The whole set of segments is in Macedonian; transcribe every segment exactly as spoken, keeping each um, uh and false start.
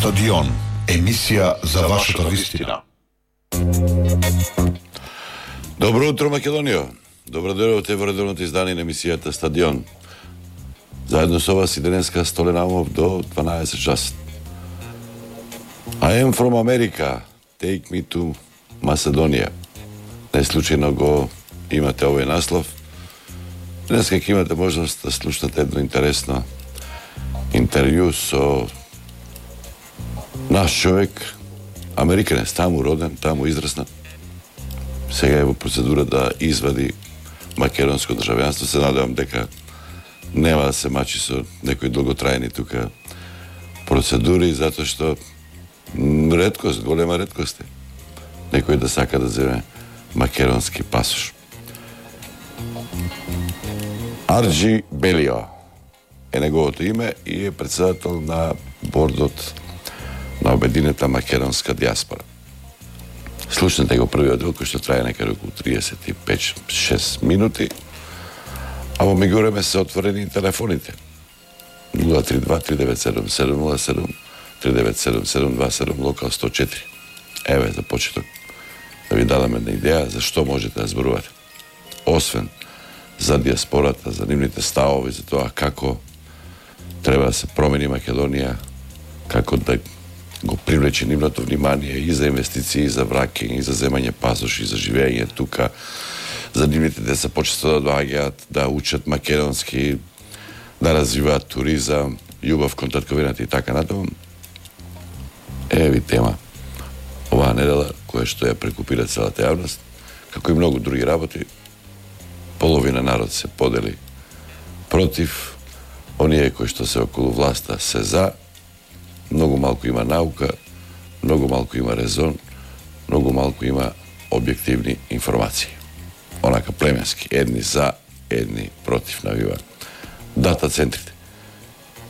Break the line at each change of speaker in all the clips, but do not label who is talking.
Стадион, емисија за вашата вистина.
Добро утро, Македонија. Добро дојдовте во редовното издание на емисијата Стадион. Заедно со вас и денеска Столен Амов до дванаесет часот. I am from America. Take me to Macedonia. Не случајно го имате овој наслов. Денеска ќе имате можност да слушнете едно интересно интервју со наш човек, американец, таму роден, таму израснат. Сега е во процедура да извади македонско државјанство. Се надевам дека нема да се мачи со некои долготрајни тука процедури, затоа што реткост, голема реткост е некој да сака да земе македонски пасош. Арџи Белио е неговото име и е председател на бордот на обединета македонска диаспора. Слушнете го првиот дел кој што трае некаде околу триесет и пет до шест минути, а во меѓувреме се отворени телефоните. нула три два три девет седум седум нула седум, три девет седум седум два седум, локал сто четири. Еве за почеток да ви дадам една идеја за што можете да зборувате. Освен за диаспората, за нивните ставови, за тоа како треба да се промени Македонија, како да го привлече нивното внимание и за инвестиции, и за враќање, и за земање пасош, и за живење тука, за нивните деца почесто да доаѓаат, да учат македонски, да развиваат туризам, љубов кон татковината и така натаму. Еви тема оваа недела, која што ја прекупира целата јавност, како и многу други работи. Половина народ се подели против, оние кои што се околу власта се за. Многу малку има наука, многу малку има резон, многу малку има објективни информации. Онака племенски, едни за, едни против навива дата центрите.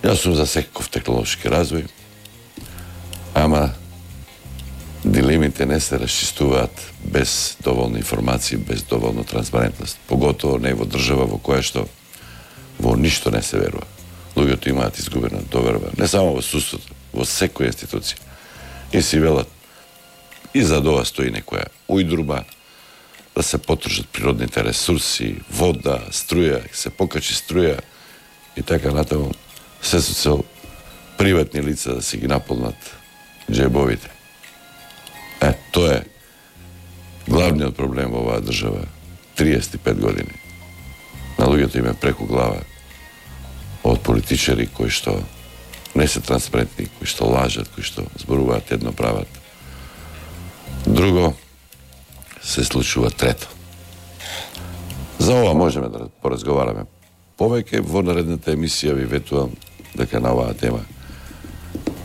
Јас сум за секаков технолошки развој, ама дилемите не се расчистуваат без доволно информации, без доволно транспарентност. Поготово не во држава во која што во ништо не се верува. Луѓето имаат изгубена доверба, не само во судството, во секоја институција. И си велат, и за ова стои некоја ујдруба, да се потржат природните ресурси, вода, струја, се покачи струја и така натаму, се со цел приватни лица да си ги наполнат џебовите. Е, тоа е главниот проблем во оваа држава. триесет и пет години. На луѓето им е преку глава од политичари кои што не се транспарентни, кои што лажат, кои што зборуваат едно, прават друго, се случува трето. За ова можеме да поразговараме повеќе. Во наредната емисија ви ветувам дека на оваа тема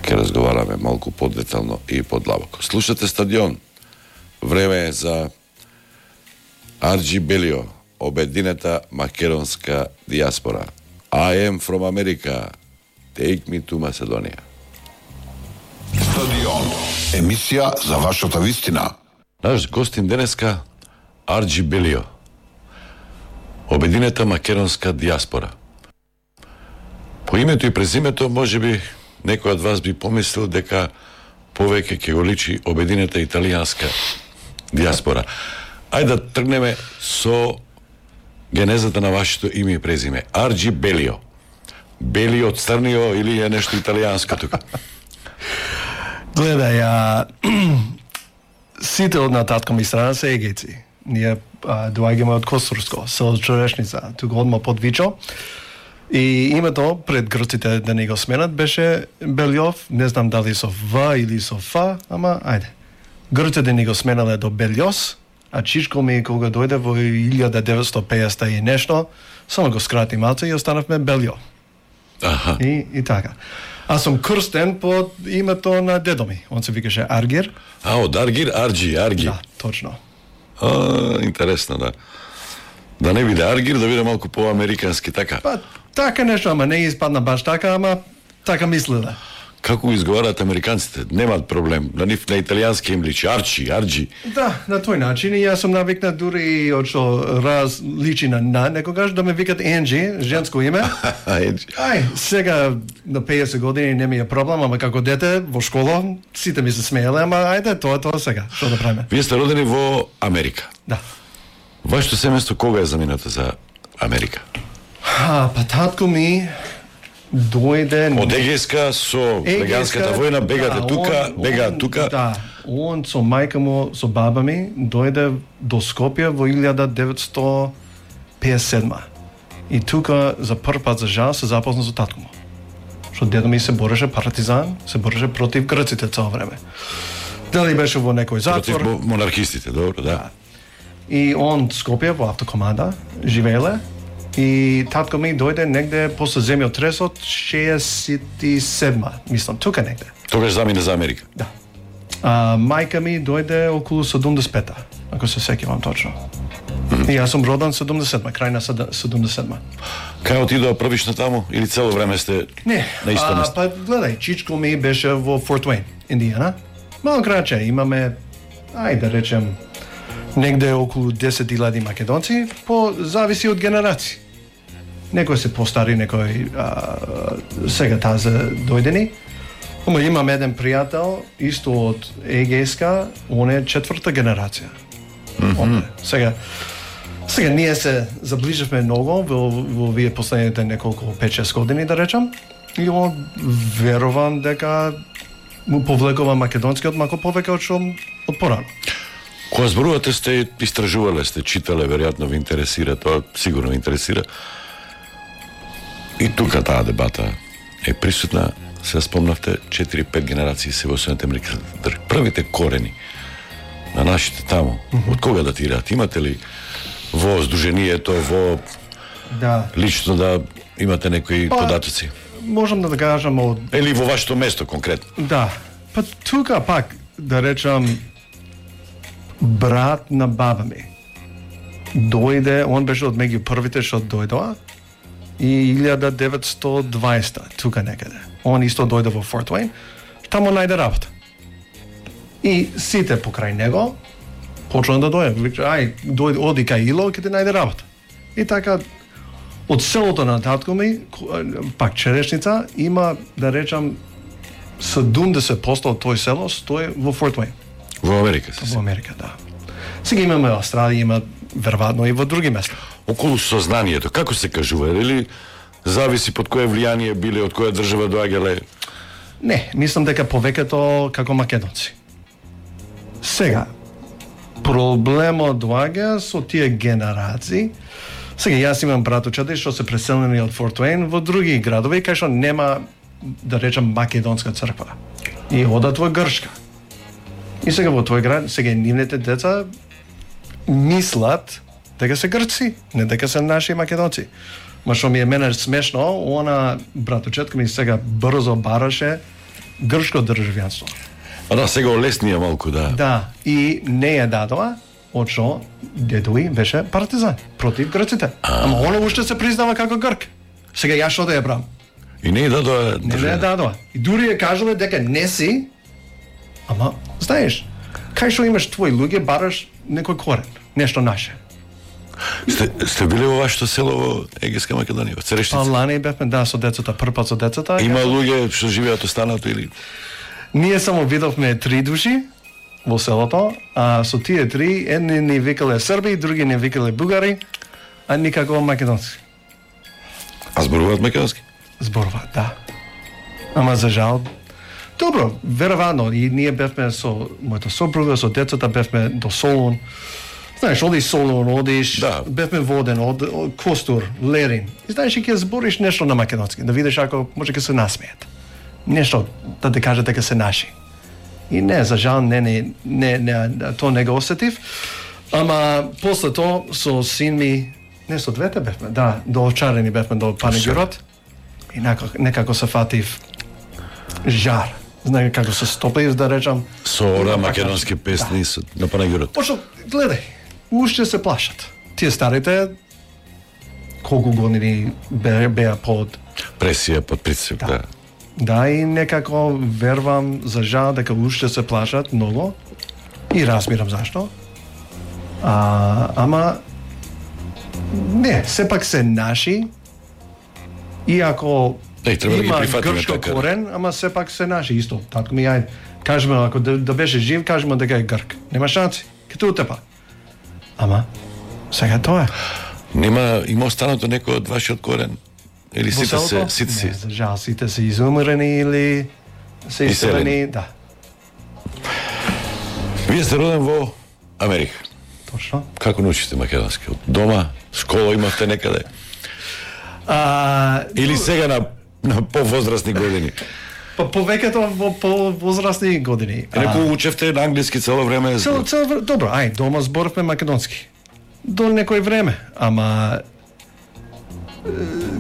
ќе разговараме малку подетално и подлабоко. Слушате Стадион. Време е за Арџи Белио, обединета македонска диаспора. I am from America. Take me to Macedonia.
Стадион, емисија за вашата вистина.
Наш гостин денеска Арџи Белио, обединета македонска диаспора. По името и презимето можеби некој од вас би помислил дека повеќе ќе го личи обединета италијанска диаспора. Ајде да тргнеме со генезата на вашето име и презиме. Арџи Белио. Белио од Црнио или е нешто италијанско тука?
Гледај, а, сите од на татко ми страна се егејци. Ние а, доаѓаме од Костурско, село Чорешница, тука одма под Вичо. И името пред грците да не го сменат беше Белјов, не знам дали со В или со Ф, ама ајде. Грците да не го сменале до Белјос, а чичко ми кога дојде во илјада деветстотини и песета и нешто, само го скрати малце и останавме Белјо.
Аха.
И, и така. Аз сум крстен под името на дедо ми. Он се викаше Аргир.
А, од Аргир, Арџи, Арги.
Да, точно.
А, интересно, да. Да не биде Аргир, да биде малку по-американски, така.
Па, така нешто, ама не испадна баш така, ама така мислеле.
Како го изговараат американците? Немаат проблем. На нив на италијански им личи Арчи, Арджи.
Да, на тој начин и јас сум навикнат дури од што раз личи на на некогаш да ме викат Енджи, женско име. Ај, сега на педесет години не ми е проблем, ама како дете во школа сите ми се смееле, ама ајде, тоа тоа сега, што да правиме.
Вие сте родени во Америка.
Да.
Вашето семејство кога е заминато за Америка?
А, па татко ми дојде
Од Егејска со веганската војна, бегате
да,
тука,
он-
бегаат
он-
тука.
Да, он со мајка му, со баба ми, дојде до Скопје во илјада деветстотини педесет и седма. И тука за прв пат за жал се запозна со татко му. Што дедо ми се бореше партизан, се бореше против грците цело време. Дали беше во некој
Против
затвор.
мо- монархистите, добро, да.
И он Скопје во автокоманда живееле. И татко ми дојде негде после земјотресот шеесет и седма, мислам, тука негде.
Тогаш замине за Америка.
Да. А, мајка ми дојде околу седумдесет и пета, ако се сеќавам точно. И јас сум роден седумдесет и седма, крај на седумдесет и седма.
Кај отидоа првично таму или цело време сте
Не,
на исто
а,
место?
па гледај, чичко ми беше во Форт Уейн, Индијана. Мало краче, имаме, ајде да речем, негде околу десет илјади македонци, по зависи од генерации. Некој се постари, некој а, сега тазе дојдени. Ама имам еден пријател, исто од Егејска, он е четврта генерација. Mm-hmm. Сега, сега ние се заближивме многу во, во вие последните неколку пет-шест години, да речам, и он верувам дека му повлекува македонскиот малку повеќе од што од порано.
Кога зборувате сте истражувале, сте читале, веројатно ви интересира, тоа сигурно ви интересира. И тука таа дебата е присутна. Се спомнавте, четири-пет генерации се во Соединените Американски држави. Првите корени на нашите таму, mm-hmm. од кога датираат? Имате ли во здруженијето, во
Да.
лично да имате некои
Па,
податоци?
Можам да кажам од
Или во вашето место конкретно?
да. Па тука пак да речам брат на баба ми дојде, он беше од меѓу првите што дојдоа и илјада деветстотини и дваесета тука некаде. Он исто дојде во Форт Уейн, таму најде работа. И сите покрај него почнаа да дојде. Вика, ај, дојди, оди кај Ило, ќе ти најде работа. И така од селото на татко ми, пак Черешница, има да речам седумдесет проценти од тој село стои во Форт Уейн,
Во Америка се.
во Америка, да. Сега имаме Австралија, има веројатно и во други места.
Околу сознанието, како се кажува, или зависи под кое влијание биле, од која држава доаѓале?
Не, мислам дека повеќето како македонци. Сега, проблемот доаѓа со тие генерации. Сега, јас имам братучади што се преселени од Форт Уейн во други градови, кај што нема, да речам, македонска црква. И одат во Грчка. И сега во тој град, сега нивните деца мислат дека се грци, не дека се наши македонци. Ма што ми е мене смешно, она братучетка ми сега брзо бараше грчко државјанство.
А да, сега олеснија малку, да.
Да, и не ја дадоа, од што дедови беше партизан против грците. Ама она уште се признава како грк. Сега јас што да ја брам?
И не е дадоа
Не ја дадоа. И дури ја кажале дека не си, ама, знаеш, кај што имаш твои луѓе, бараш некој корен, нешто наше.
Сте, сте биле во вашето село во Егејска Македонија, во
Па
Церештица?
лани бевме, да, со децата, прв пат со децата.
Има луѓе што живеат останато или...
Ние само видовме три души во селото, а со тие три, едни ни викале срби, други ни викале бугари, а никако македонски.
А зборуваат македонски?
Зборуваат, да. Ама за жал, добро, веројатно, и ние бевме со мојата сопруга, со децата бевме до Солун. Знаеш, одиш Солун, одиш,
Да.
бевме воден, од, од Костур, Лерин. И знаеш, и ќе збориш нешто на македонски, да видиш ако може ќе се насмеат. Нешто да те кажат дека се наши. И не, за жал, не, не, не, не тоа не го осетив. Ама после тоа со син ми, не со двете бевме, да, до Овчарени бевме до Панегирот. И некако, некако се фатив жар. Знае како се стопив, да речам.
Со ора македонски песни со, на Панагирот.
Пошто, гледај, уште се плашат. Тие старите, колку години беа, беа под...
Пресија под притисок, да.
Да, и некако вервам за жал дека уште се плашат многу и разбирам зашто. А, ама не, сепак се наши, иако
Не, треба да ги
има
прифатиме
грчко
така.
корен, ама сепак се наши исто. Татко ми ајде, кажеме ако да, да беше жив, кажеме дека е грк. Нема шанси. Като утепа. Ама сега тоа е.
Нема има останато некој од вашиот корен? Или
Во
сите се
селото?
сите
Не,
си?
за жал, сите се изумрени или се
Иселени.
иселени, да.
Вие сте роден во Америка.
Точно.
Како научите македонски? Од дома, школа имавте некаде?
А,
Или сега на на повозрастни години?
па повеќето во повозрастни години.
Реку учевте на англиски цело време.
Цел, цел, вр- добро, ај, дома зборовме македонски. До некој време, ама е,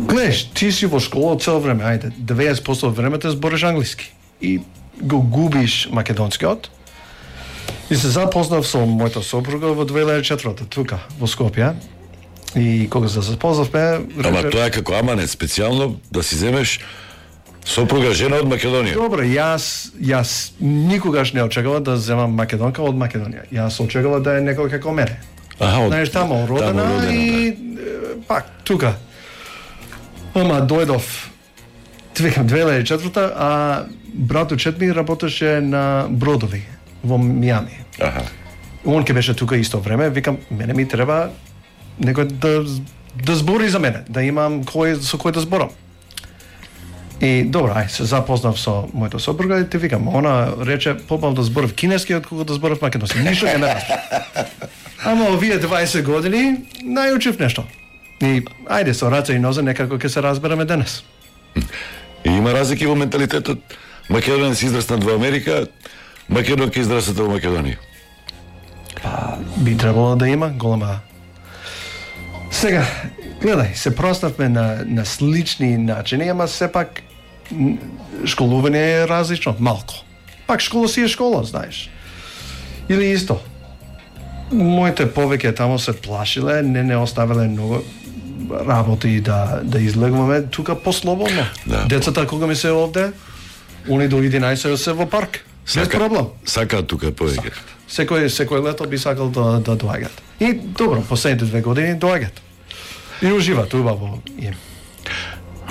гледаш, ти си во школа цело време, ајде, деветдесет проценти од времето збориш англиски и го губиш македонскиот. И се запознав со мојата сопруга во две илјади и четврта тука во Скопје. И кога се запознавме,
Ама
рече,
тоа е како аманет, специјално да си земеш сопруга жена од Македонија.
добро, јас јас никогаш не очекував да земам македонка од Македонија. Јас очекував да е некој како мене.
Аха, од
Знаеш, тамо родена,
тамо родена,
и е, пак тука. Ама дојдов викам две илјади и четврта, а братучет ми работеше на бродови во Мијами.
да. Аха.
Он ке беше тука исто време, викам мене ми треба некој да да збори за мене, да имам кој со кој да зборам. И добро, ај се запознав со мојата сопруга и ти викам, она рече побав да зборам кинески од кога да зборам македонски. Ништо не разбрав. Ама овие дваесет години најучив нешто. И ајде со раце и нозе некако ќе се разбереме денес.
И има разлики во менталитетот. Македонец израснат во Америка, македонка израснат во Македонија.
Би требало да има голема. Сега, гледај, се проставме на, на слични начини, ама сепак м, школување е различно, малку. Пак школа си е школа, знаеш. Или исто. Моите повеќе тамо се плашиле, не не оставиле многу работи да да излегуваме тука послободно.
Да.
Децата кога ми се овде, они до единаесет се во парк. Без проблем.
Сакаат тука повеќе.
Секој секој лето би сакал да да доаѓаат. И добро, последните две години доаѓаат. И уживаат убаво им.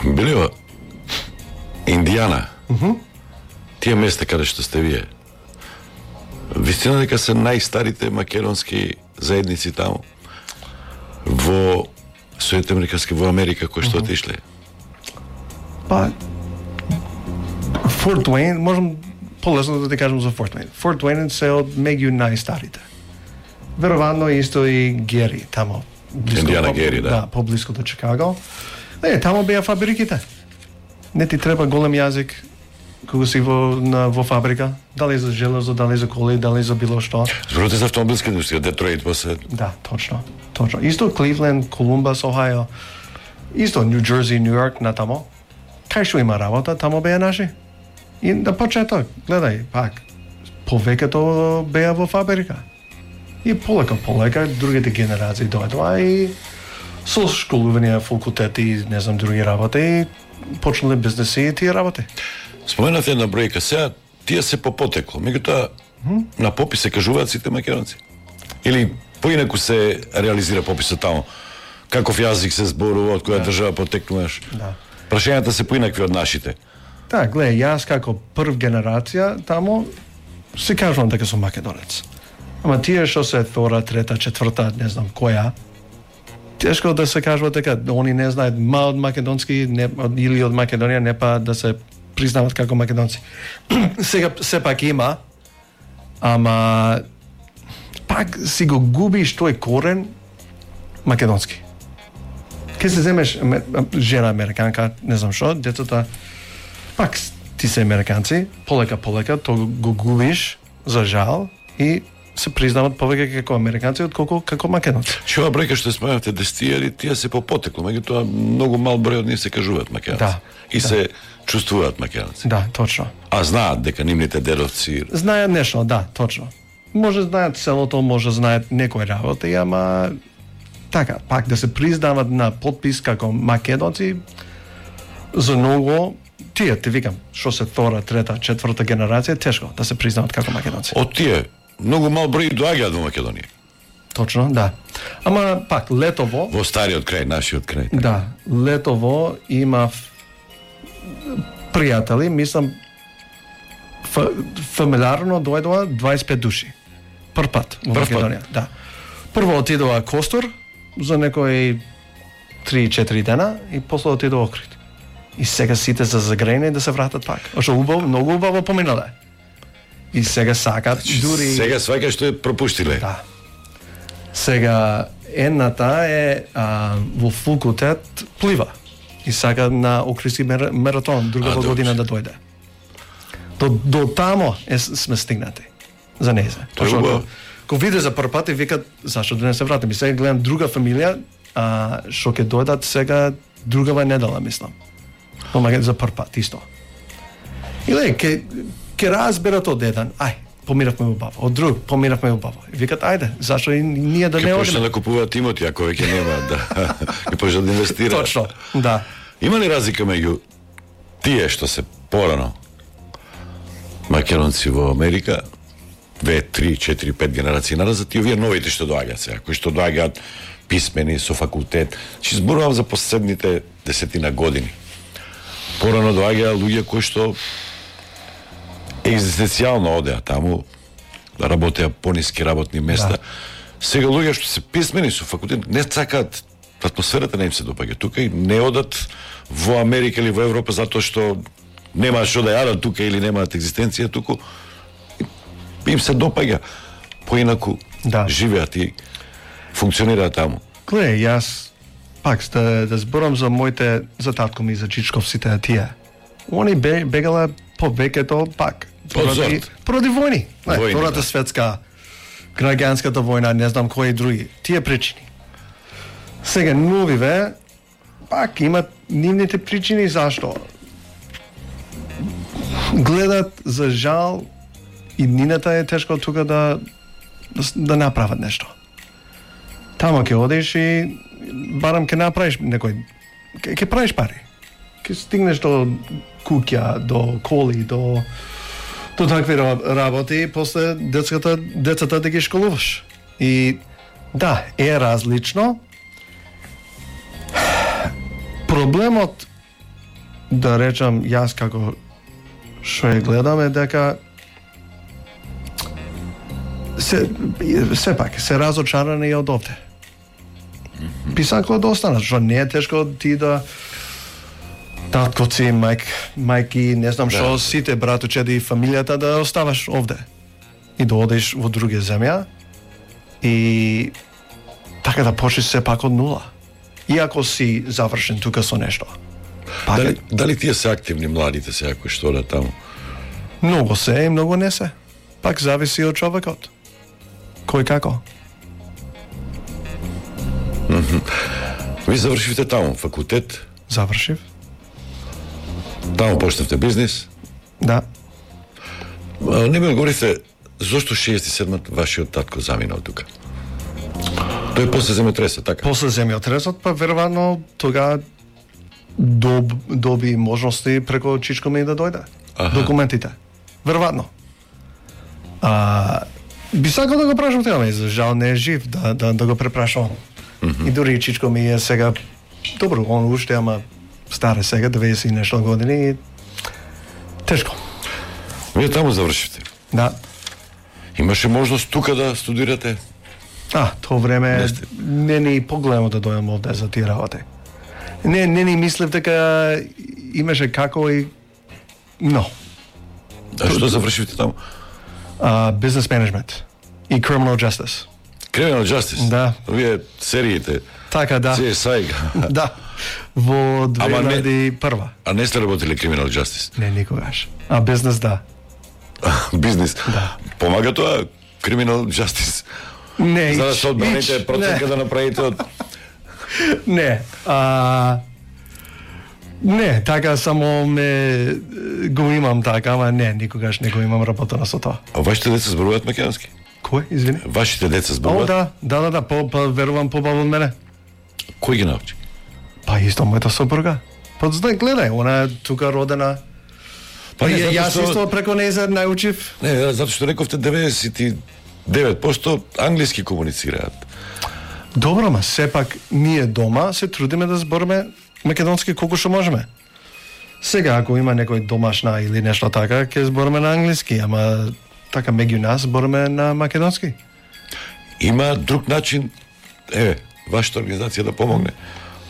Билио Индијана. Тие места каде што сте вие. Вистина дека се најстарите македонски заедници таму во Соединените Американски во Америка кои што отишле.
Па Форт Уейн, можам полесно да ти кажам за Форт Уейн. Форт Уейн се од меѓу најстарите. Веројатно исто и Гери тамо. близко
Индијана
по-
Гери, да.
Да, поблиску до Чикаго. Е, тамо беа фабриките. Не ти треба голем јазик кога си во на во фабрика, дали за железо, дали за коли, дали за било што.
Зборувате за автомобилска индустрија, Детройт после.
Да, точно. Точно. Исто Кливленд, Колумбас, Охајо. Исто Нью Џерси, Нью Йорк на тамо. Кај што има работа, тамо беа наши. И на почеток, гледај, пак, повеќето беа во фабрика. И полека, полека, другите генерации дојдоа и со школување, факултети, не знам, други работи, и почнале бизнеси и тие работи.
Споменавте една бројка, сега тие се по потекло, меѓутоа на попис се кажуваат сите македонци. Или поинаку се реализира пописот таму. Каков јазик се зборува, од која држава потекнуваш.
Да.
Прашањата се поинакви од нашите.
Да, гледај, јас како прв генерација тамо се кажувам дека сум македонец. Ама тие што се втора, трета, четврта, не знам која, тешко да се кажува дека они не знаат ма од македонски не, од, или од Македонија, не па да се признават како македонци. Сега сепак има, ама пак си го губиш тој корен македонски. Ке се земеш аме- жена американка, не знам што, децата пак ти се американци, полека полека то го губиш за жал и се признават повеќе како американци отколку како македонци.
Што ова бројка што споменавте десетијари, тие се по потекло, меѓутоа многу мал број од нив се кажуваат македонци.
Да,
И
да.
се чувствуваат македонци.
Да, точно.
А знаат дека нивните дедовци
Знаат нешто, да, точно. Може знаат селото, може знаат некои работи, ама така, пак да се признават на подпис како македонци, за многу тие, ти викам, што се втора, трета, четврта генерација, тешко да се признаат како македонци.
Од тие, многу мал број доаѓаат во Македонија.
Точно, да. Ама пак летово
Во стариот крај, нашиот крај.
Да, летово има пријатели, мислам ф, фамилиарно дојдоа дваесет и пет души. Прв пат во
Прв пат.
Македонија, да. Прво отидоа Костур за некои три-четири дена и после отидоа Охрид. И сега сите се загрејни да се вратат пак. Ошо убаво, многу убаво поминале. И сега сакат дури
Сега сваќа што е пропуштиле.
Да. Сега едната е а, во факултет плива и сака на Охридски мер, маратон другата
А,
година
добре.
да дојде. До до тамо е, сме стигнати за незе.
Тоа е
Пошто
убаво.
ко- Ко виде за прв пат и викат зашто да не се вратим. И сега гледам друга фамилија, а што ќе дојдат сега другава недела, мислам. Но мага за прв пат исто. И ле, ке ке разберат од еден, ај, помиравме убаво. Од друг, помиравме убаво. И викат, ајде, зашто и ние да не
Ќе почне
одиме?
да купуваат имоти, ако веќе нема, да. Ќе почне да инвестираат.
Точно, да.
Има ли разлика меѓу тие што се порано македонци во Америка, две, три, четири, пет генерации назад и овие новите што доаѓаат сега, кои што доаѓаат писмени со факултет. Чи зборувам за последните десетина години. Порано доаѓаа луѓе кои што екзистенцијално одеа таму, да работеа пониски работни места.
Да.
Сега луѓе што се писмени со факултет не сакаат, атмосферата не им се допаѓа тука и не одат во Америка или во Европа затоа што нема што да јадат тука или немаат екзистенција туку. Им се допаѓа поинаку
Да.
живеат и функционираат таму.
Гледај, јас пак да, да зборам за моите, за татко ми, за Чичков, сите тие. Они бе, бегале по веќето пак.
Од
Поради,
зорт.
поради војни. Не,
Војни,
Втората
да.
светска, граѓанската војна, не знам кои други. Тие причини. Сега новиве пак имат нивните причини зашто. Гледат за жал и нината е тешко тука да да, с- да направат нешто. Тамо ќе одиш и барам ќе направиш некој ќе ќе правиш пари. Ќе стигнеш до куќа, до коли, до до такви ра- работи и после децата децата да ги школуваш. И да, е различно. Проблемот, да речам јас како што ја гледам е дека се сепак се разочарани и од овде. Би сакало да останат, што не е тешко ти да таткоци, мајк, мајки, не знам што,
Да.
сите братучеди и фамилијата да оставаш овде и да одиш во друга земја и така да почнеш сепак од нула. Иако си завршен тука со нешто. Пак
Дали,
е-
дали тие се активни младите сега кои што одат таму?
Многу се и многу не се. Пак зависи од човекот. Кој како?
Ви завршивте таму факултет,
Завршив?
таму почнавте бизнис.
Да.
А, не ми одговорите зошто шеесет и седма вашиот татко заминал тука? Тој после земјотреса, така?
После земјотресот, па веројатно тога доб, доби можности преку Чичко ми да дојде.
Аха.
Документите. Веројатно. А, би сакал да го прашам тега, ама за жал не е жив, да, да, да го препрашам. И дури Чичко ми е сега, добро, он уште, ама стар е сега, деветдесет и нешто години, и тешко.
Вие таму завршивте.
Да.
Имаше можност тука да студирате?
А, тоа време
Не сте.
не ни погледам да дојдам овде за тие работи. Не, не ни мислев дека имаше како и но.
А што завршивте таму?
А, business management и criminal justice.
Criminal Justice?
Да.
Вие сериите,
Така да.
Си Ес Ај.
Да. Во
Ама не-
две илјади и прва.
А не сте работили Criminal Justice?
Не никогаш. А бизнес да.
Бизнис? Да. Помага тоа Criminal Justice?
Не.
За да
ич-
се одбраните
ич-
проценка да направите од...
Не. А, не, така само ме го имам така, ама не, никогаш не го имам работено со тоа.
А вашите деца зборуваат македонски?
Кој, извини?
Вашите деца
О,
зборуваат?
да, да, да, да, по, по, верувам побаво од мене.
Кој ги научи?
Па исто мојата сопруга. Па знај, гледај, она е тука родена,
Па не,
Ја-
затоа
Јас
што-
исто преко нејзер научив.
Не, затоа што рековте деветдесет и девет проценти англиски комуницираат.
Добро, ма сепак ние дома се трудиме да збориме македонски колку што можеме. Сега ако има некој домашна или нешто така, ќе збориме на англиски, ама така меѓу нас збориме на македонски.
Има друг начин, еве, вашата организација да помогне.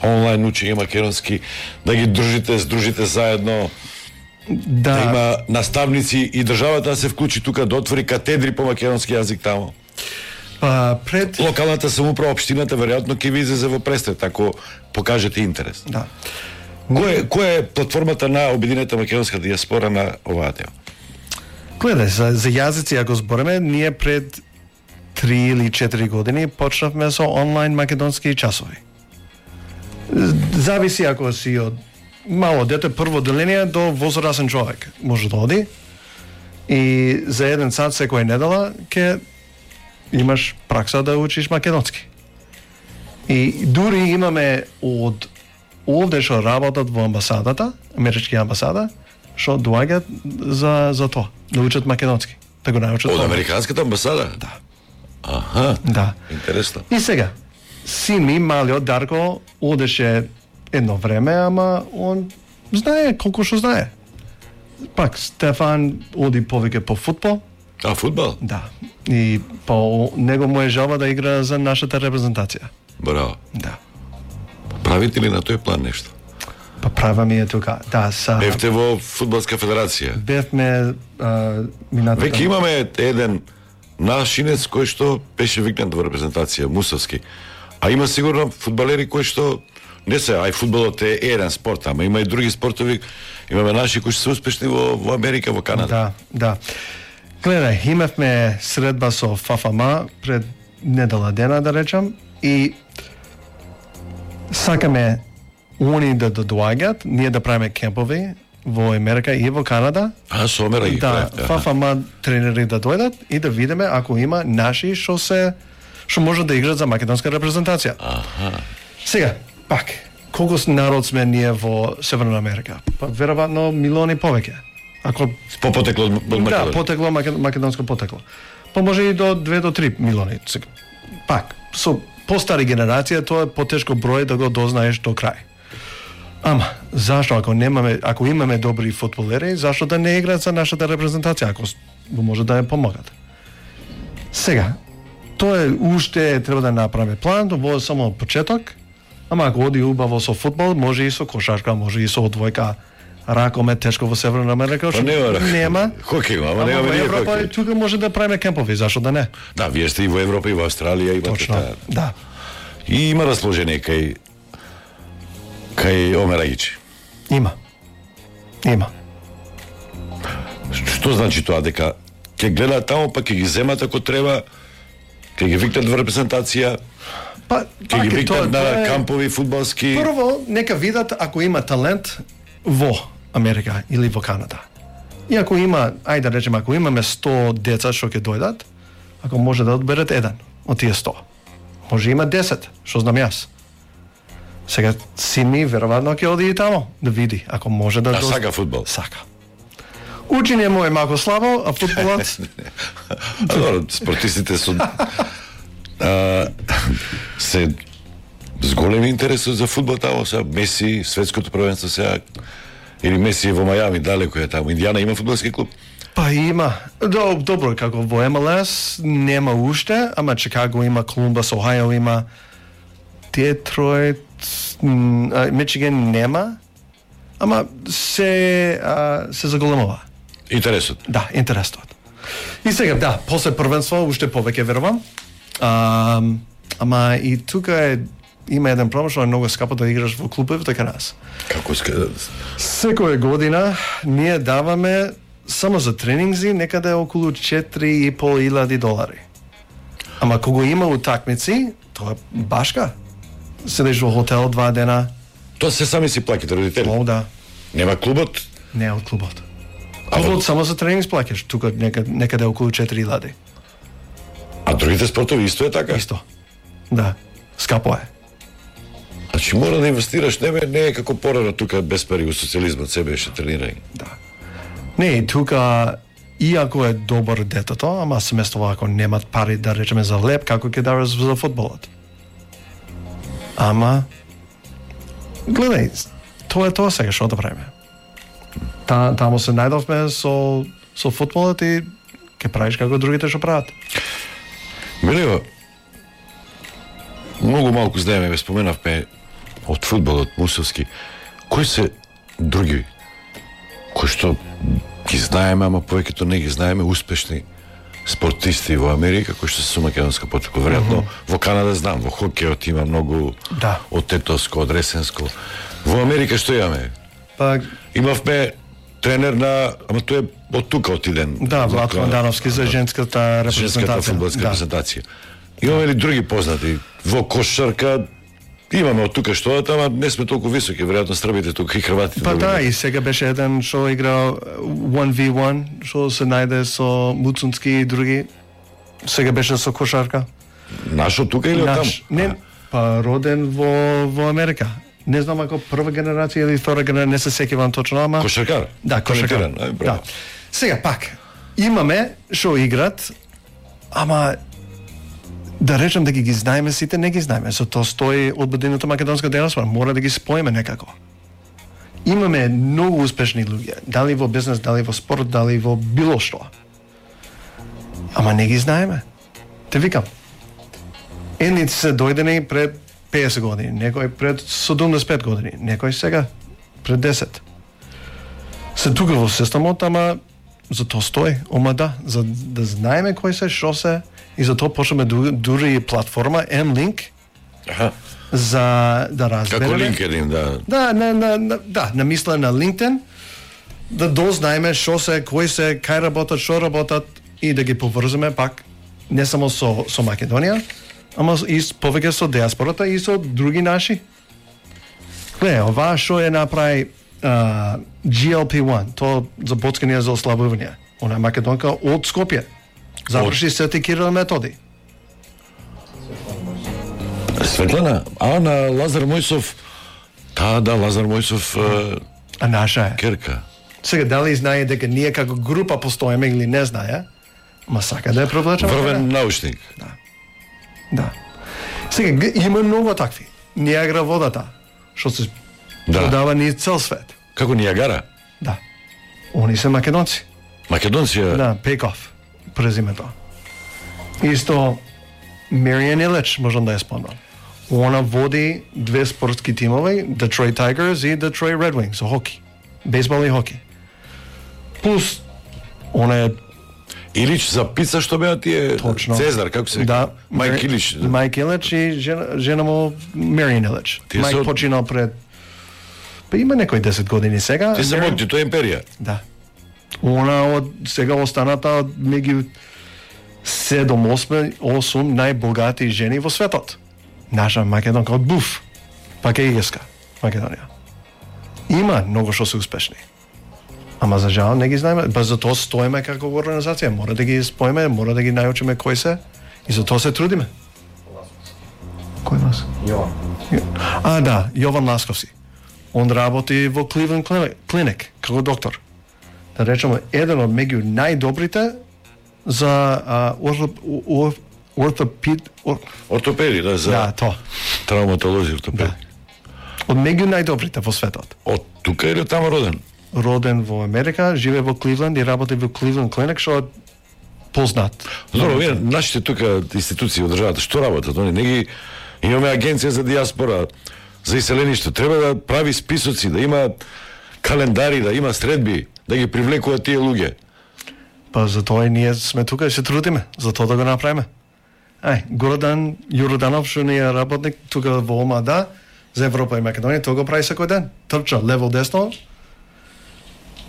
Онлайн учење македонски, да ги дружите, здружите заедно,
Да,
да има наставници и државата да се вклучи тука, да отвори катедри по македонски јазик тамо.
па пред
Локалната самоуправа, општината веројатно ќе ви излезе во престрет ако покажете интерес.
да.
Кој која е платформата на Обединета македонска дијаспора на оваа тема?
Гледај, за, за јазици ако збориме, ние пред три или четири години почнавме со онлайн македонски часови. Зависи ако си од мало дете, прво деление до возрасен човек може да оди и за еден сат секоја недела ќе имаш пракса да учиш македонски. И дури имаме од овде што работат во амбасадата, амерички амбасада, што доаѓаат за за тоа, да учат македонски, да го научат.
Од
тоа.
Американската амбасада?
Да.
Аха,
Да.
интересно.
И сега, син ми, малиот Дарко, одеше едно време, ама он знае колку што знае. Пак, Стефан оди повеќе по футбол,
А, фудбал?
да. И по него му е жалба да игра за нашата репрезентација.
Браво.
Да.
Правите ли на тој план нешто?
Па права ми е тука. Да, са...
Бевте во фудбалска федерација.
Бевме а, минатата...
Веќе имаме еден нашинец кој што беше викнат во репрезентација, Мусовски. А има сигурно фудбалери кои што не се, ај фудбалот е еден спорт, ама има и други спортови. Имаме наши кои што се успешни во, во Америка, во Канада.
Да, да. Гледај, имавме средба со ФАФАМА пред недела дена, да речам, и сакаме они да доаѓаат, ние да правиме кемпови во Америка и во Канада.
А, со Омера ги
Да,
правите, аха.
ФАФАМА тренери да дојдат и да видиме ако има наши што се што може да играат за македонска репрезентација.
Аха.
Сега, пак, колку с народ сме ние во Северна Америка? Па веројатно милиони повеќе. Ако
По потекло од од
да,
Македонија.
потекло макед- македонско потекло. Па може и до две до три милиони. Сега, пак, со постари генерација тоа е потешко број да го дознаеш до крај. Ама, зашто ако немаме, ако имаме добри фудбалери, зашто да не играат за нашата репрезентација, ако с- може да ја помогат? Сега, тоа е уште треба да направиме план, во само почеток, ама ако оди убаво со фудбал, може и со кошарка, може и со одвојка, ракомет тешко во Северна Америка,
Па
што
нема ракомет.
нема.
Хокеј има, ама
Ама
немаме
во
ние
Европа
хокеј.
тука може да правиме кемпови, зашто да не?
Да, вие сте и во Европа и во Австралија имате
Точно,
таа.
да.
И има расположение кај кај Омерагичи.
Има. Има.
Што значи тоа, дека ќе гледаат таму, па ќе ги земат ако треба, ќе ги викнат во репрезентација,
Па,
ќе
пак
ги
е,
викнат
тоа-
на
тоа е-
кампови фудбалски.
Прво, нека видат ако има талент во Америка или во Канада. И ако има, ајде да речеме, ако имаме сто деца што ќе дојдат, ако може да одберат еден од тие сто. Може има десет, што знам јас. Сега син ми веројатно ќе оди и тамо да види, ако може да
А
доз-
сака фудбал?
Сака. Учење му е малку слабо, а фудбалот
А добро, спортистите со а, се с голем интерес за фудбал таму, сега Меси, светското првенство сега, или Меси е во Мајами, далеко е таму. Индијана има фудбалски клуб?
Па има. До, добро, како во Ем Ел Ес нема уште, ама Чикаго има, Колумбас, Охајо има, Детройт, м, а, Мичиган нема, ама се а, се заголемува.
Интересот.
Да, интересот. И сега, да, после првенство уште повеќе верувам. А, ама и тука е има еден проблем што е многу скапо да играш во клубови така нас.
Како ска...
Секоја година ние даваме само за тренинзи некаде околу четири и пол илјади долари. Ама кога има утакмици, тоа е башка. Седиш во хотел два дена,
Тоа се сами си плаќате родители.
мол да,
Нема клубот,
не од клубот.
А во-
Клубот само за тренинг сплаќаш, тука некаде, некаде околу четири илјади.
а другите спортови исто е така.
Исто. Да, скапо е.
Значи мора да инвестираш, не, бе, не е како порано тука без пари во социјализмот, се беше тренирање.
Да. Не, тука иако е добар детето, ама семејството ако немат пари да речеме за леп, како ќе даваш за фудбалот. Ама гледај, тоа е тоа сега што да правиме. Та, таму се најдовме со со фудбалот и ќе правиш како другите што прават.
Белио, многу малку знаеме, ве споменавме од фудбалот мусовски. Кои се други кои што ги знаеме, ама повеќето не ги знаеме, успешни спортисти во Америка кои што се со македонска потреба? Веројатно mm -hmm. во Канада знам, во хокејот има многу,
да,
од тетоско, од ресенско. Во Америка што имаме?
Па
имавме тренер на, ама тој е од тука отиден.
Да, Владко Мандановски за женската репрезентација.
Женската фудбалска да. репрезентација. Имаме ли други познати? Во кошарка имаме од тука што, ама не сме толку високи, веројатно србите тука и хрватите.
Па да, и сега беше еден што играл one v one, што се најде со Муцунски и други. Сега беше со кошарка.
Наш од тука или од таму?
Не, па роден во во Америка. Не знам ако прва генерација или втора генерација, не се сеќавам точно, ама
кошаркар.
Да, кошаркар. Да. Сега пак имаме што играт, ама да речем да ги ги знаеме сите, не ги знаеме. Со тоа стои одбеденото македонска диаспора, мора да ги споиме некако. Имаме многу успешни луѓе, дали во бизнес, дали во спорт, дали во било што. Ама не ги знаеме. Те викам. Едни се дојдени пред песет години, некој пред седумдесет и пет години, некој сега пред десет. Се тука во системот, ама за тоа стои, ома да, за да знаеме кој се, што се, и за тоа почнеме дури платформа M-Link.
Аха.
За да разбереме.
Како LinkedIn, да.
Да, на, на, на, да, намисла на LinkedIn, да дознаеме што се, кој се, кај работат, што работат и да ги поврземе пак не само со со Македонија, ама и повеќе со диаспората и со други наши. Гле, ова што е направи uh, G L P one, тоа за боцкање за ослабување. Она е македонка од Скопје. Заврши Свети Кирил Методи.
Светлана, а на Лазар Мојсов, та да, Лазар Мојсов uh,
а наша е.
Керка.
Сега дали знае дека ние како група постоиме или не знае, ма сака да ја провлечеме.
Врвен научник.
Да. Да. Сега има многу такви. Ниагара водата, што се
да.
продава низ цел свет.
Како Ниагара?
Да. Они се македонци.
Македонци?
Да, Пеков, презимето. Исто Маријан Илич, можам да ја спомнам. Она води две спортски тимови, Detroit Tigers и Detroit Red Wings, со хоки. Бейсбол и хоки. Плюс, она е
Илич за пица што беа тие
точно.
Цезар, како се?
Да,
Мајк Илич.
Мајк Илич и жена, жена му Маријан Илич. Мајк со... починал пред па има некои десет години сега.
Ти се моќи, тоа е империја.
Да. Она од сега останата од меѓу седум осум најбогати жени во светот. Наша македонка од Буф, пак е Иеска, Македонија. Има многу што се успешни. Ама за жал не ги знаеме, ба за тоа стоиме како организација, мора да ги споиме, мора да ги научиме кои се и за тоа се трудиме. Кој нас?
Јован.
А, да, Јован Ласковски. Он работи во Cleveland Clinic како доктор. Да речеме, еден од меѓу најдобрите за а, орто, ор, ортопед... Ор...
Ортопеди, да, за
да, тоа.
Травматолози, ортопеди. Да.
Од меѓу најдобрите во светот.
Од тука или од таму роден?
Роден во Америка, живее во Кливленд и работи во Cleveland Clinic, што е познат.
Добро, вие нашите тука институции од државата што работат? Они не ги имаме агенција за диаспора, за иселеништво, треба да прави списоци, да има календари, да има средби, да ги привлекуваат тие луѓе.
Па за тоа и ние сме тука и се трудиме, за тоа да го направиме. Ај, Гордан Јорданов што не е работник тука во ОМАДА за Европа и Македонија, тоа го прави секој ден. Трча лево десно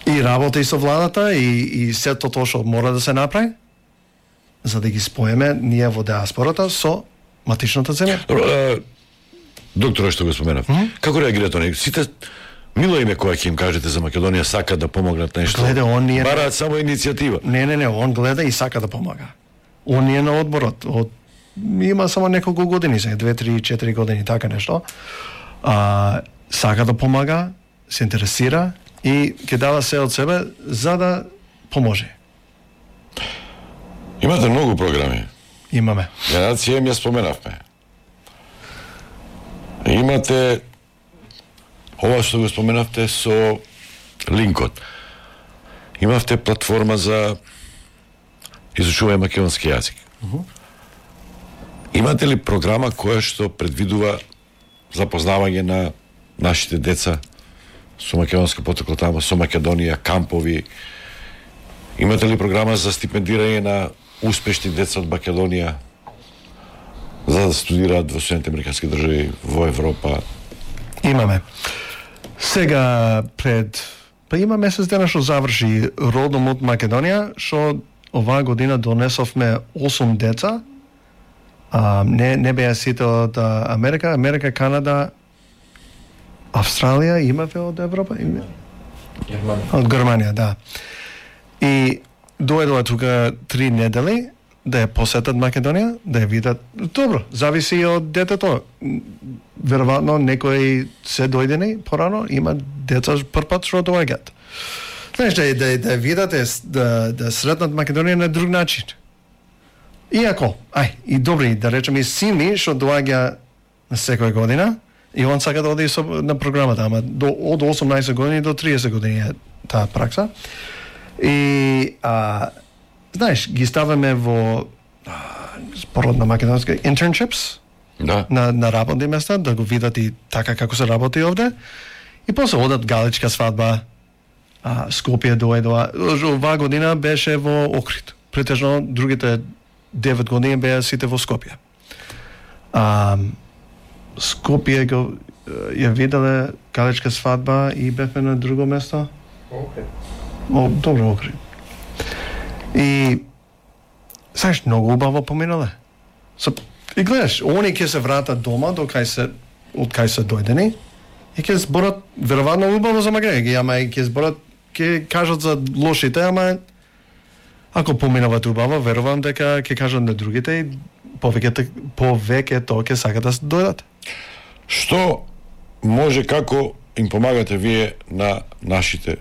и работи со владата и и сето тоа што мора да се направи за да ги споеме ние во диаспората со матичната земја.
Добро, доктора што го споменав. Mm -hmm. Како реагираат они? Сите мило име кога ќе им кажете за Македонија сака да помогнат нешто.
Гледа, он не е...
бараат само иницијатива.
Не, не, не, он гледа и сака да помага. Он е на одборот од има само неколку години, сега две, три, четири години така нешто. А, сака да помага, се интересира и ќе дава се од себе за да поможи.
Имате многу програми.
Имаме.
Генерација им ја споменавме. Имате ова што го споменавте со линкот. Имавте платформа за изучување македонски јазик. Uh-huh. Имате ли програма која што предвидува запознавање на нашите деца со македонска потекло таму, со Македонија, кампови? Имате ли програма за стипендирање на успешни деца од Македонија за да студираат во Соединените американски држави, во Европа?
Имаме. Сега пред па има месец дена што заврши родом од Македонија, што оваа година донесовме осум деца. А, не не беа сите од Америка, Америка, Канада, Австралија, имаве од Европа? Германија. Од Германија, да. И дојдоа тука три недели да ја посетат Македонија, да ја видат. Добро, зависи од детето. Веројатно некои се дојдени порано, има деца првпат што доаѓаат. Знаеш, да, да, да видат, да, да сретнат Македонија на друг начин. Иако, ај, и добри, да речеме, сини што доаѓа на секоја година, и он сака да оди со, на програмата, ама до, од осумнаесет години до триесет години е таа пракса. И, а, знаеш, ги ставаме во спорот на македонски internships,
да.
на, на работни места, да го видат и така како се работи овде. И после одат галичка свадба, а, Скопје дојдоа. Оваа година беше во Охрид. Претежно другите девет години беа сите во Скопје. А, Скопје го ја виделе галичка свадба и бевме на друго место.
Охрид.
О, добро, Охрид. И знаеш, многу убаво поминале. So, и гледаш, они ќе се вратат дома до кај се од кај се дојдени и ќе зборат веројатно убаво за Македонија, ама и ќе зборат, ќе кажат за лошите, ама ако поминават убаво, верувам дека ќе кажат на другите и повеќе повеќе тоа ќе сакат да дојдат.
Што може, како им помагате вие на нашите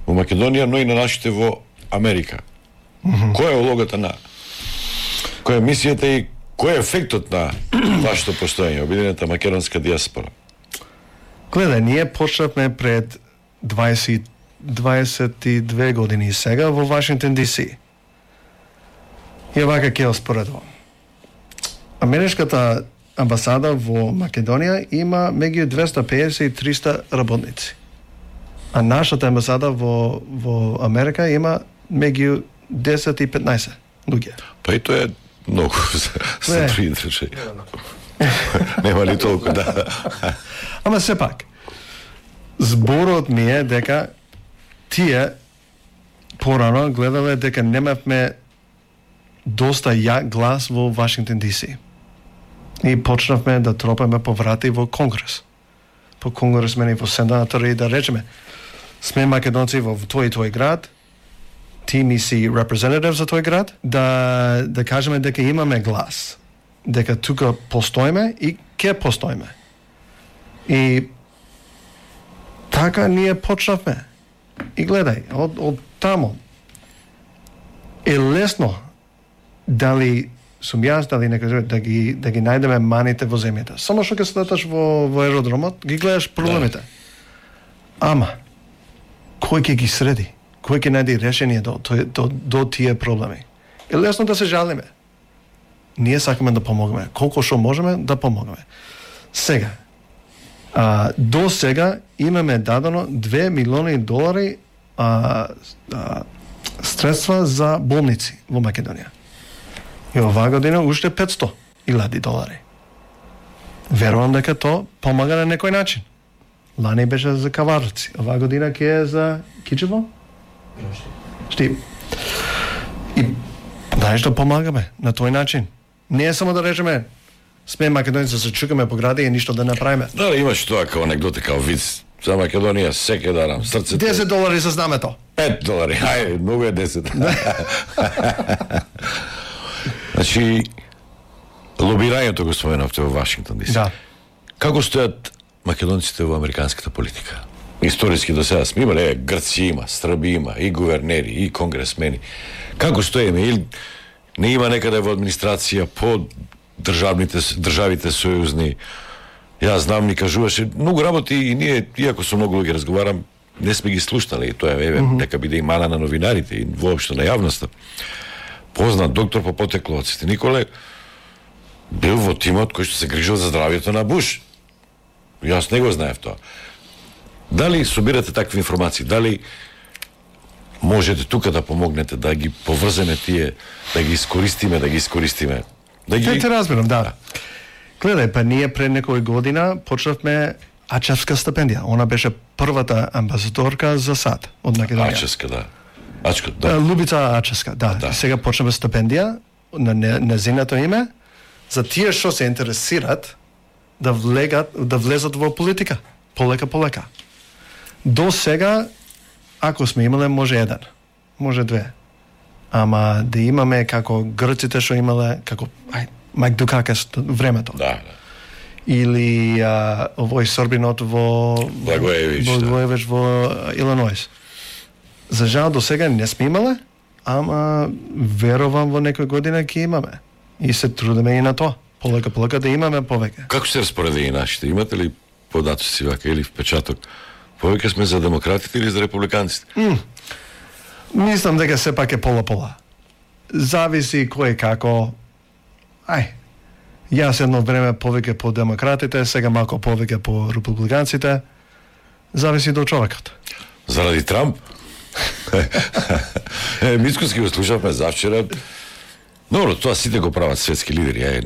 во Македонија, но и на нашите во Америка? Mm-hmm. Која е улогата на која е мисијата и кој е ефектот на вашето постоење, Обединета македонска диаспора?
Гледај, ние почнавме пред дваесет, дваесет и две години сега во Вашингтон Ди Си. И овака ќе споредувам. Америчката амбасада во Македонија има меѓу двесте и педесет и триста работници. А нашата амбасада во, во Америка има меѓу десет и петнаесет луѓе.
Па и тоа е многу за три држави. Нема ли толку, да.
Ама сепак, зборот ми е дека тие порано гледале дека немавме доста јак глас во Вашингтон Ди Си. И почнавме да тропаме по врати во Конгрес. По конгресмени, во сенатори, да речеме, сме македонци во тој и тој град, ти ми си representative за тој град, да, да кажеме дека имаме глас, дека тука постоиме и ке постоиме. И така ние почнавме. И гледај, од, од тамо е лесно дали сум јас, дали некој да ги да ги најдеме маните во земјата. Само што ќе слеташ во во аеродромот, ги гледаш проблемите. Ама кој ќе ги среди? Кој ќе најде решение до, до, до, до тие проблеми? Е лесно да се жалиме. Ние сакаме да помогнеме. Колку што можеме да помогнеме. Сега, а, до сега имаме дадено две милиони долари а, а, средства за болници во Македонија. И оваа година уште петсто илјади долари. Верувам дека тоа помага на некој начин. Лани беше за каварци, оваа година ќе е за Кичево? Штип. И знаеш да помагаме на тој начин. Не е само да речеме сме македонци да се чукаме по гради и ништо да направиме.
Да, имаш тоа као анекдота, као виц за Македонија, секој дарам срцето.
десет долари за знамето.
пет долари, ајде, многу е десет. Значи, лобирањето го споменавте во Вашингтон Ди Си.
Да.
Како стојат македонците во американската политика? Историски до сега сме имали, е, Грци има, Срби има, и гувернери, и конгресмени. Како стоиме? Или не има некаде во администрација по државните државите сојузни? Јас знам, ни кажуваше многу работи и ние, иако со многу луѓе разговарам, не сме ги слушнали, и тоа е еве, mm-hmm. нека биде и мана на новинарите и воопшто на јавноста. Познат доктор по потекло од Свети Николе бил во тимот кој што се грижил за здравјето на Буш. Јас не го знаев тоа. Дали собирате такви информации? Дали можете тука да помогнете да ги поврземе тие, да ги искористиме, да ги искористиме? Да ги...
Те, те разбирам, да. Гледај, па ние пред некој година почнавме Ачевска стипендија. Она беше првата амбасадорка за САД од Македонија.
Ачевска, да. Ачка, да.
Лубица Ачевска, да. да. Сега почнеме стипендија на незиното име за тие што се интересират да влегат, да влезат во политика. Полека, полека. До сега, ако сме имале, може еден, може две. Ама да имаме како грците што имале, како ај, Мајк Дукакес времето.
Да, да.
Или а, овој сорбинот во
Благоевич,
Благоевич да. Во Илиноис. За жал до сега не сме имале, ама верувам во некој година ќе имаме. И се трудиме и на тоа. Полека, полека да имаме повеќе.
Како се распоредени нашите? Имате ли податоци вака или впечаток? Повеќе сме за демократите или за републиканците?
Mm. Мислам дека сепак е пола-пола. Зависи кој како. Ај, јас едно време повеќе по демократите, сега малку повеќе по републиканците. Зависи до човекот.
Заради Трамп? е, Мицкоски го слушавме завчера. Добро, тоа сите го прават светски лидери. Е,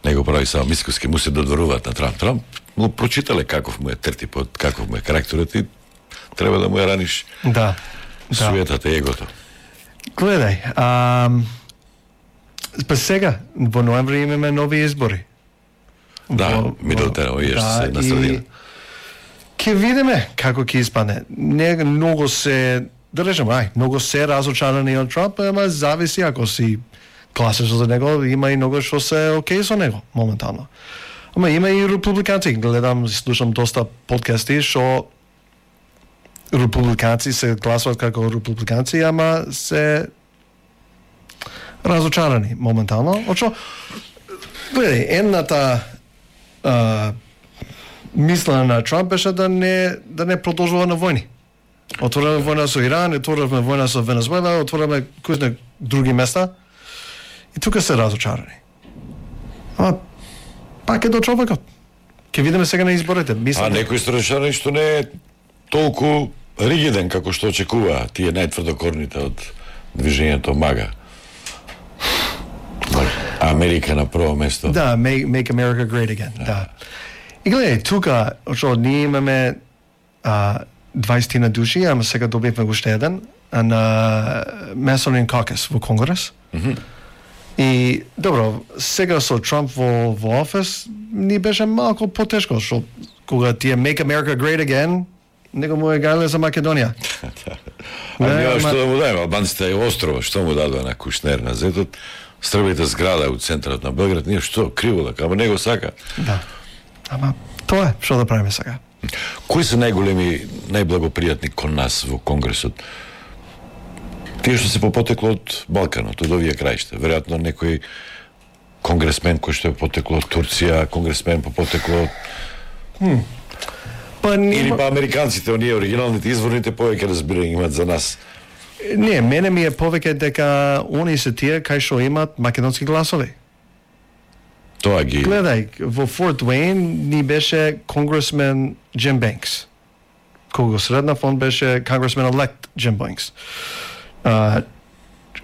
не го прави само Мицкоски, му се додворуваат на Трамп. Трамп му прочитале каков му е тертипот, каков му е карактерот и треба да му ја раниш
да,
суетата и егото.
Гледај, а, па сега, во ноември имаме нови избори.
Да, мидолтера, оиеш да, се на средина.
Ке видиме како ќе испадне. Не многу се, да речем, ај, многу се разочарани од Трамп, ама зависи ако си гласаш за него, има и многу што се окей со него моментално. Ама има и републиканци, гледам, слушам доста подкасти што републиканци се гласуваат како републиканци, ама се разочарани моментално. Очо, гледај, едната а, мисла на Трамп беше да не да не продолжува на војни. Отвораме војна со Иран, отвораме војна со Венесуела, отвораме кој други места. И тука се разочарани. Ама пак е до човекот. Ке видиме сега на изборите. Мислам,
а некој се разочарани што не е толку ригиден како што очекува тие најтврдокорните од движењето МАГА. Америка на прво место.
Да, make, make America great again. Да. да. И гледај, тука, што ние имаме а, дваесет души, ама сега добивме уште еден на Masonian Caucus во Конгрес.
Mm-hmm.
И добро, сега со Трамп во во офис ни беше малку потешко, што кога ти е Make America Great Again, него му е гале за Македонија.
А не, што да му дајме, албанците е острово, што му дадува на Кушнер на зетот, стрбите зграда у центарот на Белград, ние што, криво да, ама него сака.
Да, ама тоа е, што да правиме сега.
Кои се најголеми, најблагопријатни кон нас во Конгресот? Тие што се по потекло од Балканот, од овие краишта. Веројатно некој конгресмен кој што е потекло од Турција, конгресмен по потекло од...
Хм. Па не...
Или па американците, оние оригиналните, изворните повеќе разбирање имат за нас.
Не, мене ми е повеќе дека они се тие кај што имат македонски гласови.
Тоа ги...
Гледај, во Форт Уейн ни беше конгресмен Джим Бенкс. Кога средна фонд беше конгресмен елект Джим Бенкс. Uh,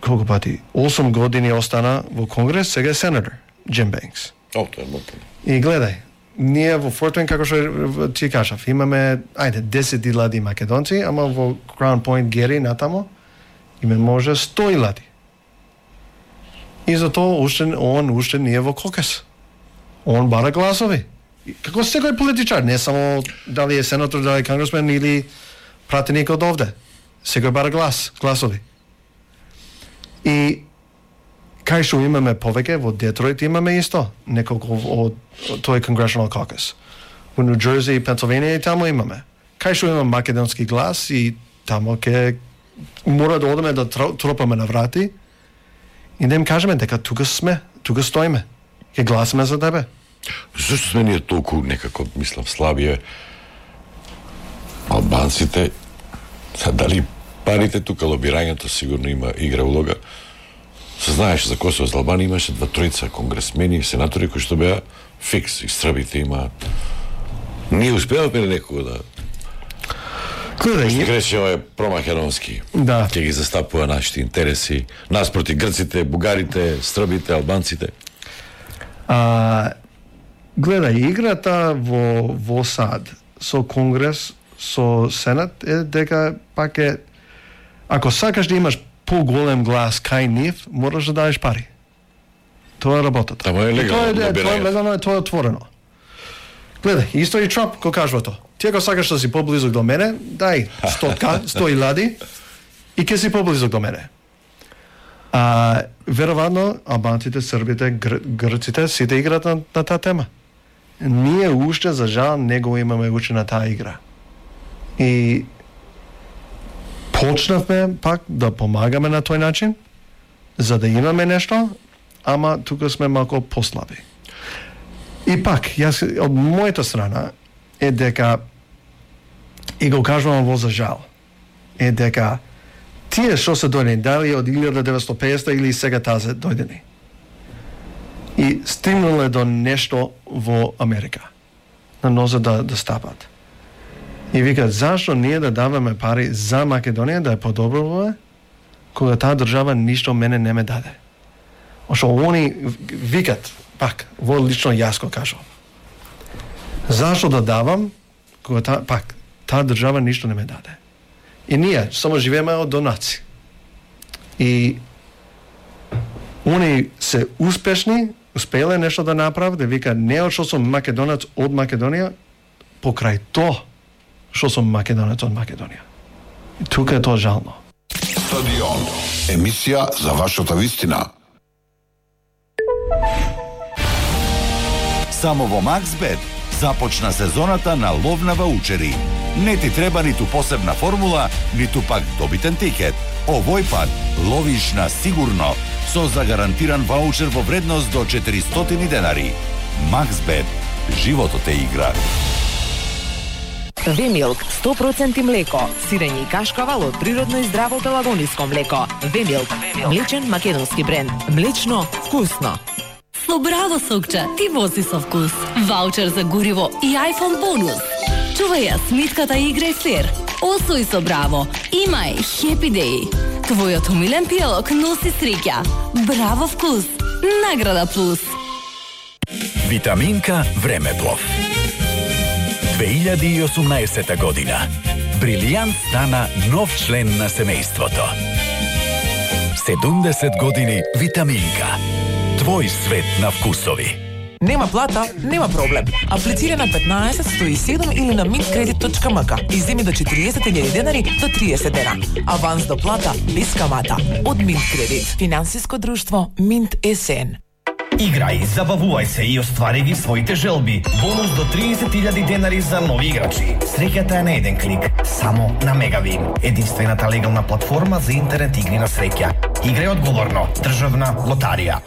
колку пати? осум години остана во Конгрес, сега е сенатор Джим Бенкс.
О, тоа е мото.
И гледај, ние во Форт Уейн, како што ти кажав, имаме, ајде, десет илјади македонци, ама во Crown Point Гери натамо име може сто илјади. И затоа уште он уште не е во кокес. Он бара гласови. Како секој политичар, не само дали е сенатор, дали е конгресмен или пратеник од овде. Секој бара глас, гласови. И кај што имаме повеќе, во Детройт имаме исто, неколку од тој Congressional Caucus. Во Нью Джерси и Пенсилванија и таму имаме. кај што има македонски глас и тамо ке мора да одеме да тропаме на врати и да им кажеме дека тука сме, тука стоиме, ке гласаме за тебе.
Зашто сме ние толку некако, мислам, слабие албанците? Са, дали парите тука, лобирањето сигурно има игра улога. Се знаеш за Косово, за Албанија имаше два тројца конгресмени и сенатори кои што беа фикс, и србите има. Ние успеавме некого да
Гледај,
Што рече ова е промакедонски.
Да.
Ќе ги застапува нашите интереси, нас проти грците, бугарите, србите, албанците.
А, гледај, играта во во САД со Конгрес, со Сенат е дека пак е, ако сакаш да имаш поголем глас кај нив, мораш да дадеш пари. Тоа е работата.
Тамо е легално,
И Тоа е, тоа е
лобирање.
легално, тоа е отворено. Гледај, исто и Трамп кој кажува тоа. Ти ако сакаш да си поблизок до мене, дај стотка, сто илади и ќе си поблизок до мене. А веројатно албанците, србите, гр, грците сите играат на, на таа тема. Ние уште за жал не го имаме учена таа игра. И почнавме пак да помагаме на тој начин за да имаме нешто, ама тука сме малку послаби. И пак, јас од мојата страна е дека и го кажувам во за жал е дека тие што се дојдени дали од илјада деветстотини и педесета или сега тазе дојдени и стигнале до нешто во Америка на нозе да, да стапат и викат зашто ние да даваме пари за Македонија да е подобро кога таа држава ништо мене не ме даде. Ошо они викат пак во лично јас го кажувам. Зашто да давам кога та, пак таа држава ништо не ме даде. И ние само живееме од донаци. И они се успешни, успеле нешто да направат, да вика не од што сум македонец од Македонија, покрај тоа што сум македонец од Македонија. И тука е тоа жално.
Стадион. Емисија за вашата вистина.
Само во Максбет започна сезоната на лов на ваучери. Не ти треба ниту посебна формула, ниту пак добитен тикет. Овој пат ловиш на сигурно со загарантиран ваучер во вредност до четиристотини денари. Максбет. Животот е игра.
Вемилк, сто проценти млеко, сирење и кашкавал од природно и здраво пелагониско млеко. Вемилк, млечен македонски бренд. Млечно, вкусно.
Со Браво Сокча ти вози со вкус. Ваучер за гориво и iPhone бонус. Чувај ја смитката и играј фер. Освој со Браво. Имај Happy Day. Твојот умилен пијалок носи среќа. Браво вкус. Награда плюс.
Витаминка Времеплов. две илјади и осумнаесета година. Брилијант стана нов член на семејството. седумдесет години Витаминка. Твој свет на вкусови.
Нема плата, нема проблем. Аплицира на петнаесет сто и седум или на mintkredit точка m k и земи до четириесет илјади денари до триесет дена. Аванс до плата без камата. Од Mintkredit. Финансиско друштво Mint ес ен.
Играј, забавувај се и оствари ги своите желби. Бонус до триесет илјади денари за нови играчи. Среќата е на еден клик, само на Мегавин, единствената легална платформа за интернет игри на среќа. Играј одговорно. Државна лотарија.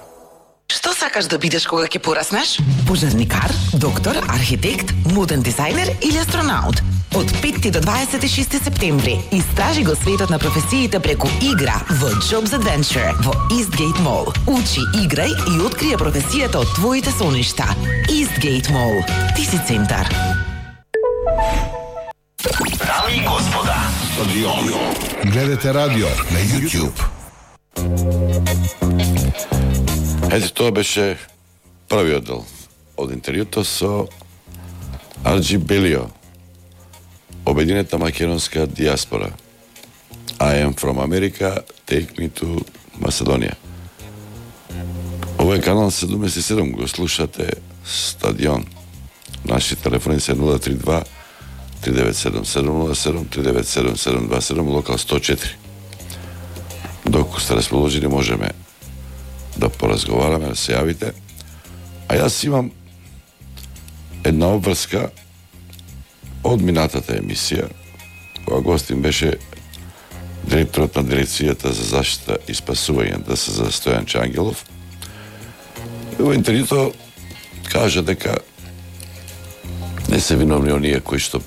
Што сакаш да бидеш кога ќе пораснеш? Пожарникар, доктор, архитект, моден дизајнер или астронаут? Од петти до дваесет и шести септември истражи го светот на професиите преку игра во Jobs Adventure во Eastgate Mall. Учи, играј и открија професијата од твоите соништа. Eastgate Mall. Ти си центар.
Дами и господа,
Стадион. Гледате радио на YouTube.
Ете, тоа беше првиот дел од интервјуто со Арџи Белио, обединета македонска диаспора. I am from America, take me to Macedоnia. Ова е канал седумдесет и седум, го слушате Стадион. Наши телефони се нула три два три девет седум седум нула седум три девет седум седум два седум, локал сто и четири. Доколку сте расположени, можеме да поразговараме, да се јавите. А јас имам една обврска од минатата емисија, кога гостин беше директорот на дирекцијата за заштита и спасување ДС за Стојан Ангелов, во интервјуто кажа дека не се виновни оние кои што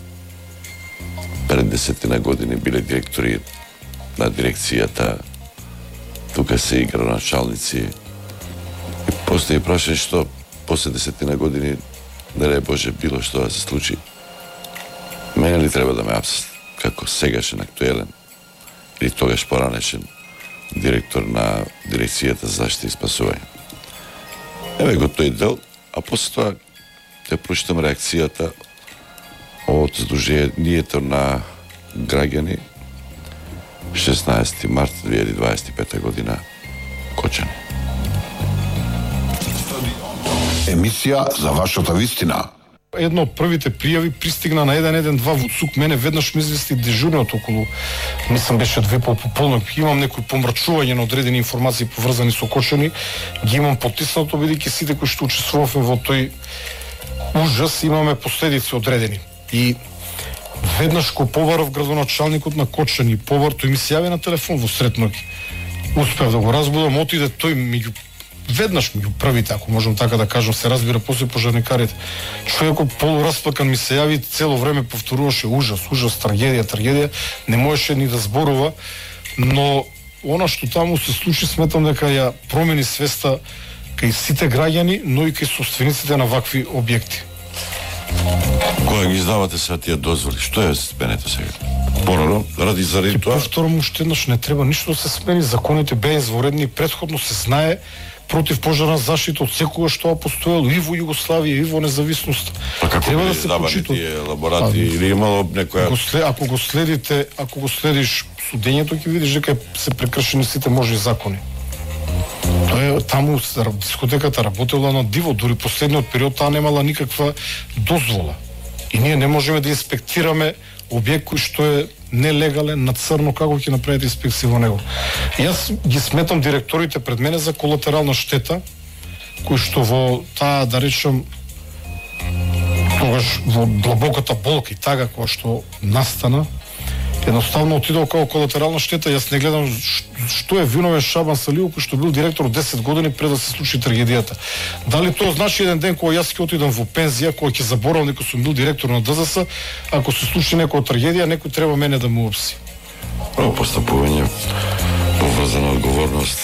пред десетина години биле директори на дирекцијата, тука се и градоначалници. И постои прашање што после десетина години, не дај Боже, било што да се случи. Мене ли треба да ме апсат како сегашен актуелен или тогаш поранешен директор на дирекцијата за заштита и спасување? Еве го тој дел, а после тоа те прочитам реакцијата од Сдруженијето на граѓани шеснаесети март две илјади дваесет и пета година, Кочани.
Емисија за вашата вистина.
Едно од првите пријави пристигна на еден еден два во ЦУК. Мене веднаш ми извести дежурниот околу, мислам беше две пополнок. Имам некои помрачување на одредени информации поврзани со Кочани, ги имам потиснато, бидејќи сите кои што учествувавме во тој ужас имаме последици одредени. И веднаш ко побарав градоначалникот на Кочани, побар, тој ми се јави на телефон во сред ноќ. Успев да го разбудам, отиде тој меѓу веднаш меѓу првите, ако можам така да кажам, се разбира после пожарникарите. Човекот полуразплакан ми се јави, цело време повторуваше ужас, ужас, трагедија, трагедија, не можеше ни да зборува, но она што таму се случи, сметам дека ја промени свеста кај сите граѓани, но и кај собствениците на вакви објекти.
Кога ги издавате се тие дозволи, што е сменето сега? Порано, ради заради тоа?
Повторно уште еднаш, не треба ништо да се смени, законите беа изворедни, претходно се знае против пожарна заштита од секогаш тоа постоело и во Југославија и во независност.
Па како треба да се почитува тие лаборати или имало некоја?
Ако, след, ако го следите, ако го следиш судењето, ќе видиш дека се прекршени сите можни закони. Тоа е таму дискотеката работела на диво, дури последниот период таа немала никаква дозвола. И ние не можеме да инспектираме објект кој што е нелегален, на црно, како ќе направите инспекција во него. Јас ги сметам директорите пред мене за колатерална штета, кој што во таа, да речем, тогаш во длабоката болка и тага која што настана, едноставно отидол како колатерална штета. Јас не гледам што е виновен Шабан Салиев, кој што бил директор десет години пред да се случи трагедијата. Дали тоа значи еден ден кога јас ќе отидам во пензија, кога ќе заборавам дека сум бил директор на ДЗС, ако се случи некоја трагедија, некој треба мене да му опси.
Право постапување, поврзана одговорност.